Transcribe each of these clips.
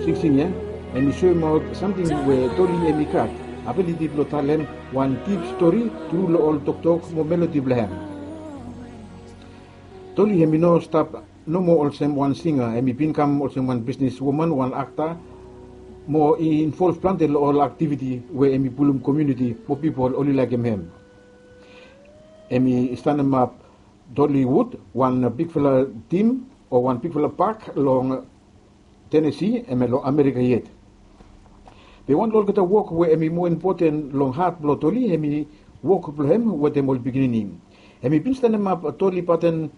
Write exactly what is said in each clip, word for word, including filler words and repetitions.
Singsing ya, hemi soemaot samting we Toli hemi gat abiliti blong talem wan dip stori tru long ol toktok mo melodi blong hem. Toli hemi no stap nomo olsem wan singa, hemi bin kam olsem wan bisnis woman, wan akta, mo i involv plante long ol aktiviti we hemi pulum komuniti mo pipol oli laekem hem. Hemi stanemap Dollywood, wan bigfala tim o wan bigfala pak long Tenesi, hemia long Amerika yet. Be wan long olgeta wok we hemi moa impoten long hat blong Toli hemi wok blong hem wetem ol pikinini. Hemi bin stanemap Toli Paten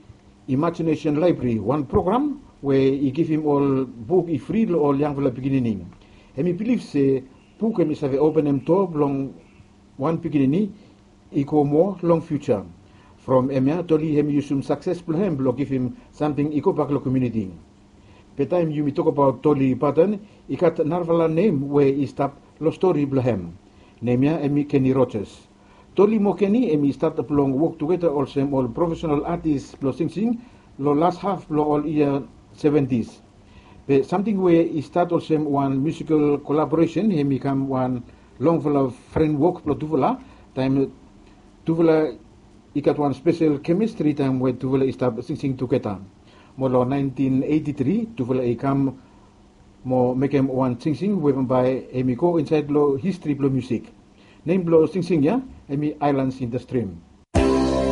Imagination Library, wan program we i givim ol buk i fri long ol yangfala pikinini. Hemi bilif se buk hemi save openem doa blong wan pikinini i go moa long fiuja. From hemia Toli hemi yusum sakses blong hem blong givim samting i gobak long komuniti. Be taem yumi tokbaot Toli Paten, i gat narafala nem we i stap long stori blong hem. Nem ya hemi Kenny Rogers. Toli mo Kenny hemi stat blong wok tugeta olsem ol profesenal atis blong singsing long las haf blong ol yia seventis. Be samting we i stat olsem wan miusikal kolaboresen hemi kam wan longfala frenwok blong tufala, taem tufala i gat wan spesel kemistri taem we tufala i stap singsing tugeta. Mo long naentin eiti tri tufala i kam mo mekem wan singsing we bambae hemi go insaed long histri blong miusik. Nem blong singsing ya hemi Islands in the Stream.